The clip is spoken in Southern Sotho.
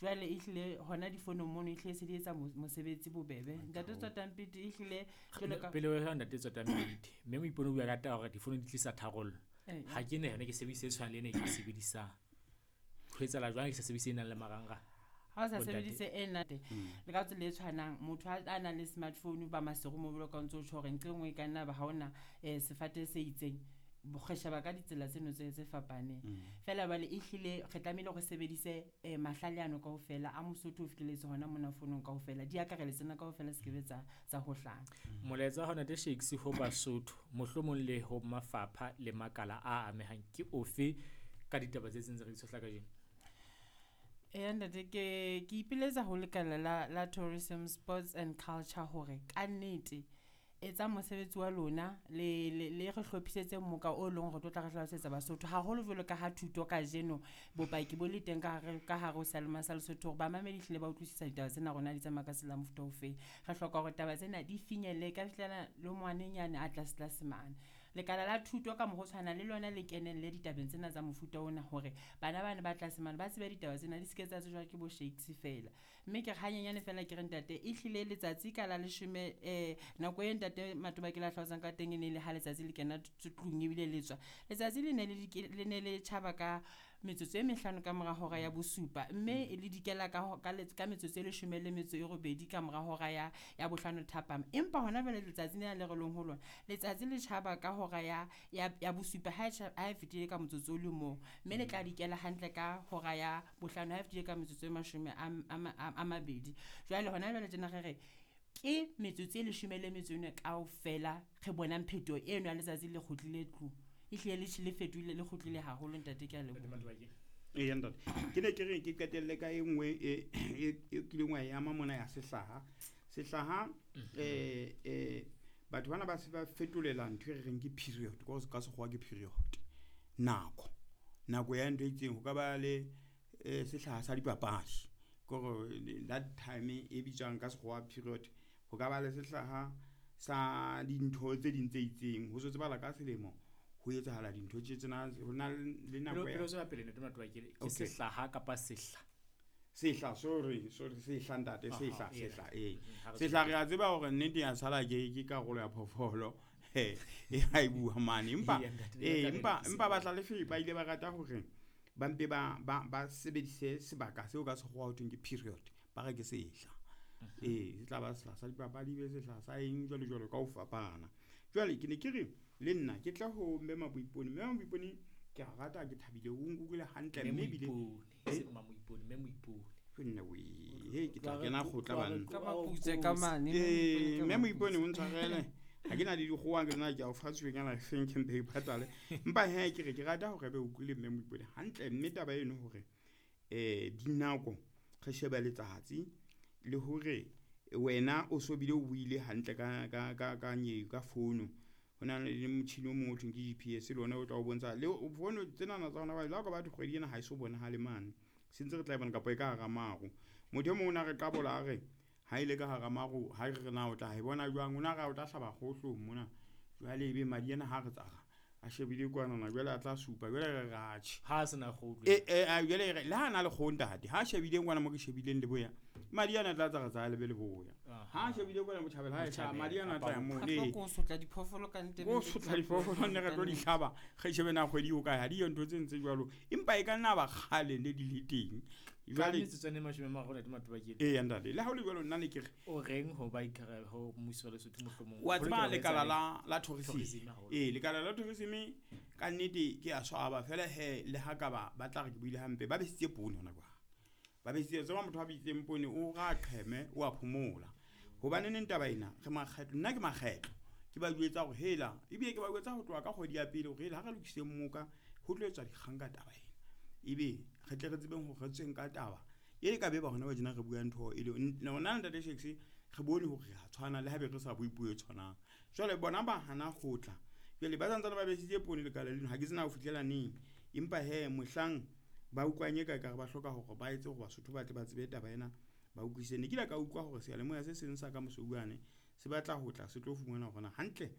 Jwale ehlile hona difonong mono ehlile se di etsa mosebetsi bobebe. Ntate Tswatampiti ehlile jwalo ka Pele ho ntate Tswatampiti, mme Moipone o bua ka taba hore difono di tlisa tharollo. Eh, Ha ke na yona, ke sebedise e tshwanang le ena e ke e sebedisang. Ho etsahala jwang ke sa sebedise e nang le marangrang? Ha o sa Bontate. sebedise ena le ka tsela e tshwanang, motho a nang le smartphone ba Maseru mo jwalo ka o ntso tjho hore nqe nngwe e ka nna ba ha ona sefate se itseng, re sheba ka ditsela tseno tse fapaneng. Feela jwale ehlile re tlamehile re sebedise mahlale ano kaofela a Mosotho o fihlelletse hona mona fonong kaofela, di akareletse tsena kaofela se kebe tsa hohlana. Molaetsa wa hao ntate Shakes ho Basotho, mohlomong le ho mafapha le makala a amehang ke ofe ka ditaba tse tse ntse re di tshohla kajeno? Eya ntate, ke ipiletsa ho lekala la Tourism, Sports and Culture hore kannete etsa mosebetsi wa lona le re hlophisetse moka o leng hore tlo tla re hlalosetsa Basotho haholo jwalo ka ha thuto kajeno bopaki bo le teng ka hare ho seyalemoya sa Lesotho hore bamamedi hlile ba utlwisisa ditaba tsena rona di tsamaya ka tsela mofuta ofeng. Re hloka hore taba tsena di finyelle ka fihlela le ngwanenyane a tlase tlase mane. Lekala la thuto ka mokgwa o tshwanang le lona le kenelle ditabeng tsena tsa mofuta ona hore bana bana ba tlase mane ba tsebe ditaba tsena di se ke tsa tsejwa ke bo Shakes feela. Mme ke re hanyenyane feela ke re ntate, ehlile letsatsi ka la leshome, nako e ntate Matoba ke la hlalosang ka teng e ne le ha letsatsi le kena tlung ebile le tswa. Letsatsi le ne le le ne le tjhaba ka metsotso e mehlano ka mora hora ya bosupa, mme le dikela ka metsotso e leshome le metso e robedi ka mora hora ya bohlano thapama. Empa hona jwale letsatsi lena le re leng ho lona, letsatsi le tjhaba ka hora ya bosupa ha e fetile ka motsotso o le mong, mme le tla dikela hantle ka hora ya bohlano ha e fetile ka metsotso e mashome a mabedi. Jwale hona jwale tjena re re, ke metsotso e leshome le metso e mene kaofela re bonang phetoho eno ya letsatsi le kgutlile tlung. Ehlile le fetohile, le kgutlile haholo ntate, ke a leboha. Eya ntate, ke ne ke re ke qetelle ka e nngwe e kileng wa e ama mona ya sehlaha. Sehlaha, batho bana ba se ba fetolela ntho e re reng ke period, ka sekgowa ke period. Nako, nako ya ntho e itseng, ho ka ba le sehlaha sa dipapadi kore that time e bitswang ka sekgowa period. Ho ka ba le sehlaha sa dintho tse ding tse itseng, ho so tsebahala ka selemo ho etsahala dintho tje tsena, ho na le nako Pele o tswela pele ntate Matoba ke sehlaha kapa sehla? Sehla, sorry, sorry, sehla ntate, sehla, Aha, sehla, ee. Ha re Sehla tswele re a tseba hore nnete ya sala ke karolo ya phoofolo, e ha e bua mane. Empa, Eya, ntate, ee, le batla empa, re empa lokise. bahlalefi ba ile ba rata hore ba mpe ba sebedise sebaka seo ka sekgowa ho thweng ke period, ba re ke sehla. Ee, se tla ba sehla sa dipapadi, be sehla sa eng jwalo jwalo ka ho fapana. Jwale ke ne ke re le nna ke tla ho Mme Maboipone. Mme Maboipone ke a rata, ke thabile, o nkutlwile hantle, Mme mme ebile Moipone, Eh? e seng Mmamoipone, Mme Moipone. Ke nna wee, hei, ke tla kena kgotla banna. Ka maputse ka mane, Eh, Mme Mme Moipone Moipone ka o ntshwarele. Ha ke na le dikgowa ke tsena ke a o fa tsweng ana feng ke mpe ke patale. Empa he ke re ke rata hore ebe o utlwile Mme Moipone hantle, mme taba eno hore, dinako re shebe letsatsi le hore wena o so bile o buile hantle ka founu. Ho na le motjhini o mong o thweng ke GPS le ona o tla o bontsha le founu tsenana tsa hona jwale, le ha o ka batho kgwedi ena ha e so bonahale mane, se ntse re tla e bona kapa e ka hara maru. Motho e mong o na re qabola a re ha ile ka hara maru, ha re re na o tla e bona jwang, o na re o tla hlaba kgohlong mona. Jwale ebe madi ana ha re tsara a shebile kwanana, jwale a tla supa, jwale re re atjhe. Ha a sena kgoho. Jwale re, le ha na le kgoho ntate, ha shebile kwana mo ke shebileng leboya, madi ana a tla tsara tsa lebe leboya. Ha a shebile kwana botjhabela, ha e hlaha, madi ana a tla ya moo. Kapa Ee. ko sotla diphoofolo ka nnete, Ko sotla diphoofolo, nne re tlo di hlaba, re shebe na kgwedi o kae, ha di yo ntho tse ntse jwalo. Empa e ka nna ba kgale ne di le teng. Ka Jwale metsotso e mashome a mararo, ntate Matoba, ke Eya, ntate, le ha ho le jwalo nna ne ke re o reng ho ba ikara ho mmuso wa Lesotho mohlomong? Wa Ho tseba lokela ho lekala etsa la tourism. Tourism haholo. Ee, lekala la tourism ka nnete ke a swaba fela he, le ha ka ba tla re ke buile hampe, ba besitse poone hona jwale. Ba besitse, tseba motho a bitseng poone o ra qheme, o a phomola. Hobane neng taba ena, re makgetlo, nna ke makgetlo. Ke ba jwetsa hore hela, ebile ke ba jwetsa ho tloha ka kgwedi ya pele hore hela ha re lokiseng moka, ho tlo etswa dikgang ka taba ena. Ebe re tle re tsebeng hore re tsweng ka taba. E ka be ba hona ba tjena re bua ntho e le rona ntate Shakes, re bone hore re a tshwana le haebe re sa bue puo e tshwanang. Jwale bona ba hana ho tla. Jwale ba santsane ba besitse poone lekala leno, ha ke tsena ho fihlela neng. Empa he mohlang ba utlwang e ka ekare ba hloka hore ba etse hore Basotho ba tle ba tsebe taba ena, ba utlwisise. Ne ke ile ka utlwa hore seyalemoya se seng sa ka Mosouwane se batla ho tla se tlo fumana hore na hantle